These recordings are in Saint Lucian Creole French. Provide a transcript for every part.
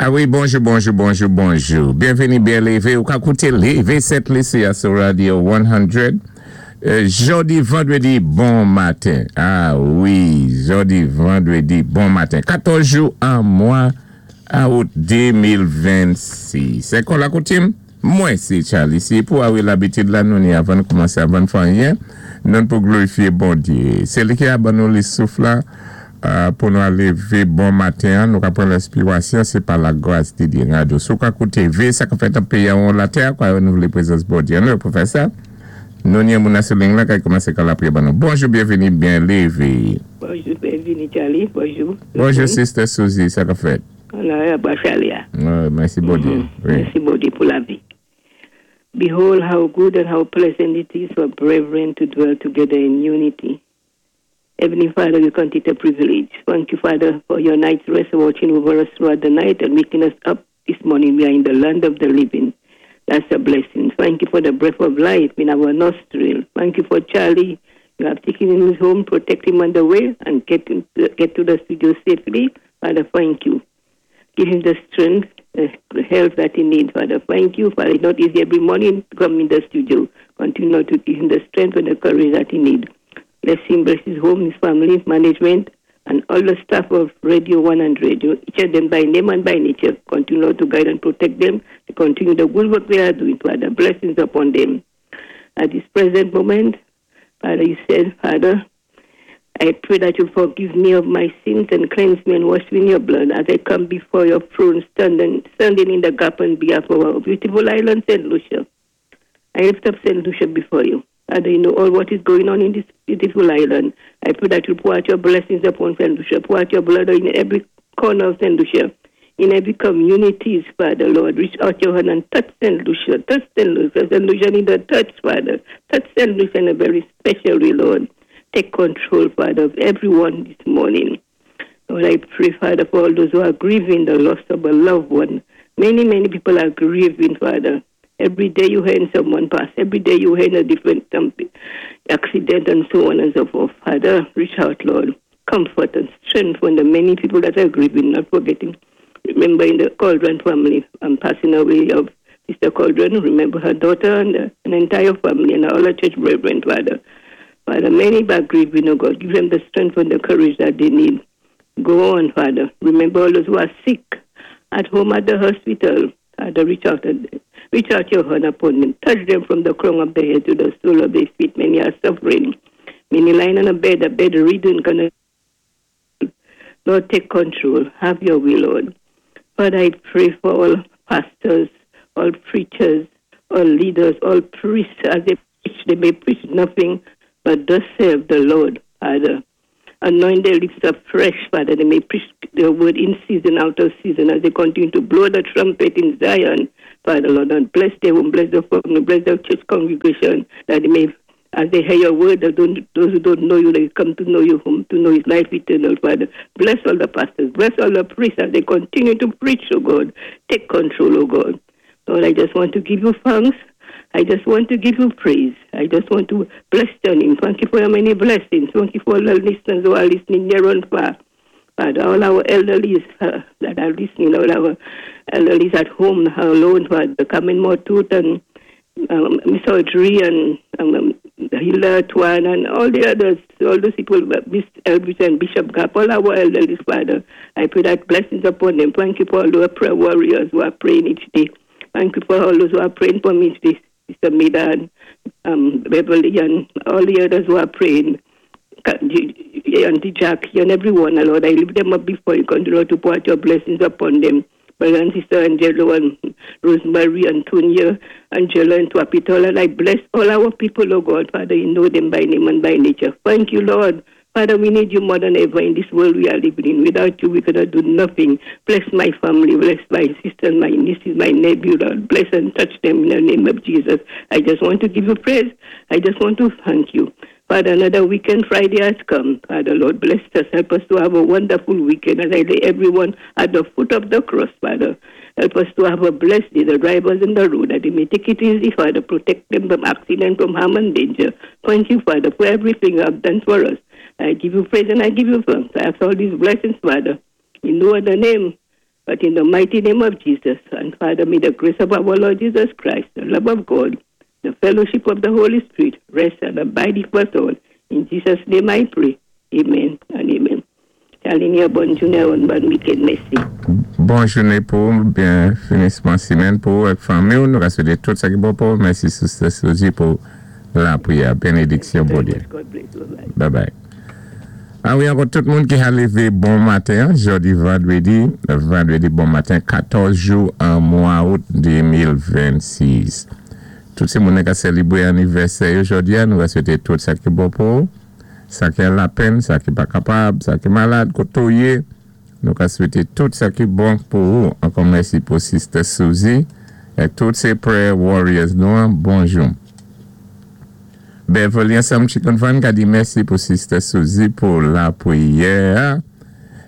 A wi, bonjou, bonjou, bonjou, bonjou. Byenvini, byen lévé. Ou ka kouté Lévé Sent Lisi sou Radio 100. Jòdi, vandrédi, bon maten. A wi, jòdi, vandrédi, bon maten. 14 jou an mwa out 2026. Sé kon lakoutim? Mwen, sé Charlie. Si pou a wi labitid la, nou ni avan kòmansé, avan fè anyen, nou pou glorifié Bondyé. Sé li ki a ban nou li souf la, pou nou lévé bon maten, nou ka pran lenspirasyon, sé pa lagras di Dye. Radyo, sou ka kouté vé, sa ka fèt an péyi an latè, kwa nou vlé prezans Bondyé. Nou pou fè sa. Nou ni moun sou liy la ki kòmansé ka lapriyè ban nou. Bonjou, byenvini, byen lévé. Bonjou, byenvini Charlie, bonjou. Bonjou, Sister Suzy, sa ka fèt? La, Charlie. Ouais, mèsi Bondyé. Wi. Mèsi Bondyé pou lavi. Behold how good and how pleasant it is for brethren to dwell together in unity. Heavenly Father, we count it a privilege. Thank you, Father, for your night's rest, watching over us throughout the night and waking us up this morning. We are in the land of the living. That's a blessing. Thank you for the breath of life in our nostril. Thank you for Charlie. You have taken him home, protect him on the way, and get him to, get to the studio safely. Father, thank you. Give him the strength, the health that he needs, Father. Thank you, Father. It's not easy every morning to come in the studio. Continue to give him the strength and the courage that he needs. Bless him, bless his home, his family, management, and all the staff of Radio 100, each of them by name and by nature. Continue to guide and protect them, to continue the good work they are doing, Father. Blessings upon them. At this present moment, Father, you said, Father, I pray that you forgive me of my sins and cleanse me and wash me in your blood as I come before your throne, standing in the gap on behalf of our beautiful island, St. Lucia. I lift up St. Lucia before you. Father, you know all what is going on in this beautiful island. I pray that you pour out your blessings upon St. Lucia, pour out your blood in every corner of St. Lucia, in every communities, Father, Lord. Reach out your hand and touch St. Lucia, touch St. Lucia. St. Lucia need a touch, Father. Touch St. Lucia in a very special way, Lord. Take control, Father, of everyone this morning. Lord, I pray, Father, for all those who are grieving the loss of a loved one. Many, many people are grieving, Father. Every day you hear someone pass. Every day you hear a different accident and so on and so forth. Father, reach out, Lord. Comfort and strengthen the many people that are grieving, not forgetting. Remember in the Cauldron family, I'm passing away of Sister Cauldron. Remember her daughter and an entire family and all the church brethren, Father. Father, many are grieving, oh God. Give them the strength and the courage that they need. Go on, Father. Remember all those who are sick at home, at the hospital. Father, reach out your hand upon them. Touch them from the crown of their head to the sole of their feet. Many are suffering. Many lying on a bed, a bedridden. Gonna. Lord, take control. Have your will, Lord. Father, I pray for all pastors, all preachers, all leaders, all priests, as they preach, they may preach nothing but thus saith the Lord, Father. Anoint their lips afresh, Father, they may preach the word in season, out of season, as they continue to blow the trumpet in Zion, Father, Lord, and bless their home, bless the family, bless the church congregation, that they may, as they hear your word, those who don't know you, they come to know you, whom to know his life eternal, Father. Bless all the pastors, bless all the priests as they continue to preach, oh God. Take control, oh God. Lord, I just want to give you thanks. I just want to give you praise. I just want to bless your name. Thank you for your many blessings. Thank you for all the listeners who are listening near and far. Father, all our elderlies that are listening, all our elderlies at home alone, Father, Carmen Mortut and Miss Audrey and Hilda Twan and all the others, all those people, Miss Elvis and Bishop Gap, all our elderlies, Father. I pray that blessings upon them. Thank you for all the prayer warriors who are praying each day. Thank you for all those who are praying for me today, Sister Mida and Beverly and all the others who are praying. Auntie Jackie and everyone, Lord, I lift them up before you. Continue to pour out your blessings upon them. Brother and Sister Angelo and Rosemary and Tonya, Angela and Twapitola, and I bless all our people, oh God. Father, you know them by name and by nature. Thank you, Lord. Father, we need you more than ever in this world we are living in. Without you, we cannot do nothing. Bless my family, bless my sisters, my nieces, my nephew, Lord. Bless and touch them in the name of Jesus. I just want to give you praise. I just want to thank you. Father, another weekend, Friday has come. Father, Lord, bless us. Help us to have a wonderful weekend as I lay everyone at the foot of the cross, Father. Help us to have a blessed day, the drivers in the road, that they may take it easy, Father. Protect them from accident, from harm and danger. Thank you, Father, for everything you have done for us. I give you praise and I give you thanks. I ask all these blessings, Father. In no other name. But in the mighty name of Jesus, and Father, may the grace of our Lord Jesus Christ, the love of God, the fellowship of the Holy Spirit, rest and abide with us all. In Jesus' name I pray. Amen and amen. Charlene, bonn jounen, bon wikenn, mèsi. Bon jounen pou ou, byen finisman simenn pou ou ak fanmi. Nou ka swété tout sa ki bon pou ou. Mèsi, Sister Suzy, pou lapriyè. Benediksyon, Bondyé. God bless you. Bye. Bye bye. A wi, ankò tout moun ki ka lévé bon maten, jòdi vandrédi, vandrédi bon maten, 14 jou an mwa out 2026. Tout sé moun ki sélébwé anivèsè jòdi, nou ka swété tout sa ki bon pou ou, sa ki an lapenn, sa ki pa kapab, sa ki malad, koté ou yé, nou ka swété tout sa ki bon pou ou. Ankò mèsi pou Sister Suzy é tout sé prayer warriors nou, bonjou. Beverly ansanm Chicken Fan ka di mèsi pou Sister Suzy pou lapriyè.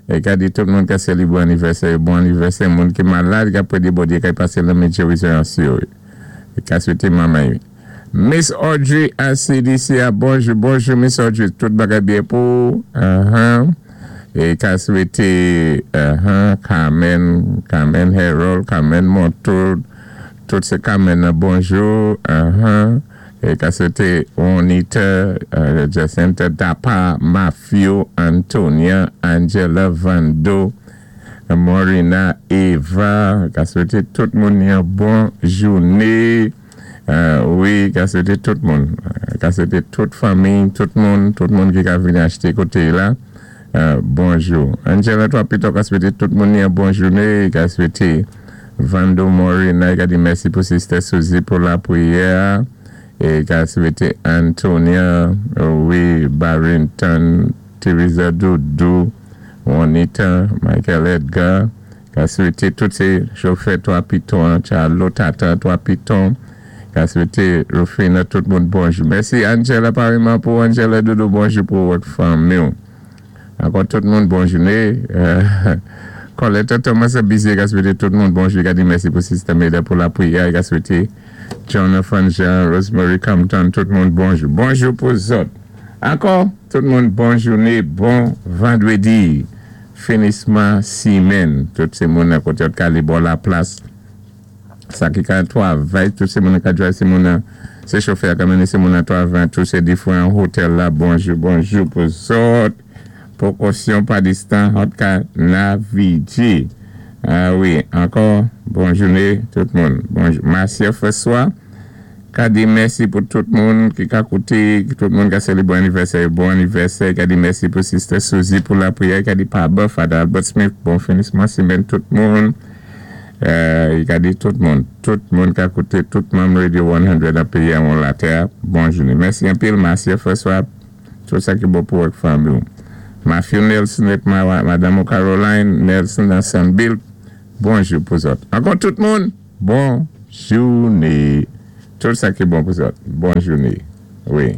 É ka di tout moun ki sélébwé anivèsè, bon anivèsè, moun ki malad, ki pwé di Bondyé ki pasé lanmen gerizon sou. É ka swété manman. Miss Audrey a CDC, bonjou, bonjou Miss Audrey, tout bagay byen pou. É ka swété Carmen, Carmen Harold, Carmen Montour, tout sé Carmen, bonjou. É ka swété Juanita, Jacinta Dapa, Matthew, Antonia, Angela Vando, Morina, Eva, ka swété tout moun yon bon jounen. Wi, ka swété tout moun. Ka swété tout fanmi, tout moun ki ka vini achté koté la. Bonjou. Angela, twa pito ka swété tout moun yon bon jounen. Ka swété Vando Morina, ka di mèsi pou Sister Suzy pou lapriyè. É ka swété Antonia, wi, Barrington, Teresa Doudou, Juanita, Michael Edgar, ka swété tout sé chofè Twa Piton, Charlotte Tata Twa Piton, ka swété Rufina, tout moun bonjou. Mèsi Angela pareman pou Angela Doudou, bonjou pou vòt fanmi. Ankò tout moun bon jounen. Colette Thomas Bizé ka swété tout moun bonjou, ka di mèsi pou Sister Meda pou lapriyè, ka swété Jonathan Jean, Rosemary Compton, tout moun bonjou. Bonjou pou zòt. Ankò, tout moun bon jounen, bon vandrédi. Finisman simenn. Tout sé moun koté ka alé bò la plas. Sa ki ka twavay, tout sé moun ka drive, sé moun sé chofè ka mennen sé moun twavay, tout sé diferan otèl la. Bonjou, bonjou pou zòt. Pwékosyon pa distan, zòt ka navigé. A wi, ankò, bon jounen tout moun. Bonjou. Marcia François, ka di mèsi pou tout moun ki ka kouté, tout moun ki sélébwé anivèsè, bon anivèsè, ka di mèsi pou Sister Suzy pou lapriyè, ka di Papa, Father Albert Smith, bon finisman simenn tout moun. Ka di tout moun ka kouté, tout manm Radio 100 nan péyi an latè, bon jounen. Mèsi anpil, Marcia François, tout sa ki bon pou ak fanmi. Matthew Nelson é Madam Caroline Nelson nan Sanville, bonjou pou zòt. Ankò tout moun, bon jounen. Tout sa ki bon pou zòt. Bon jounen. Wi.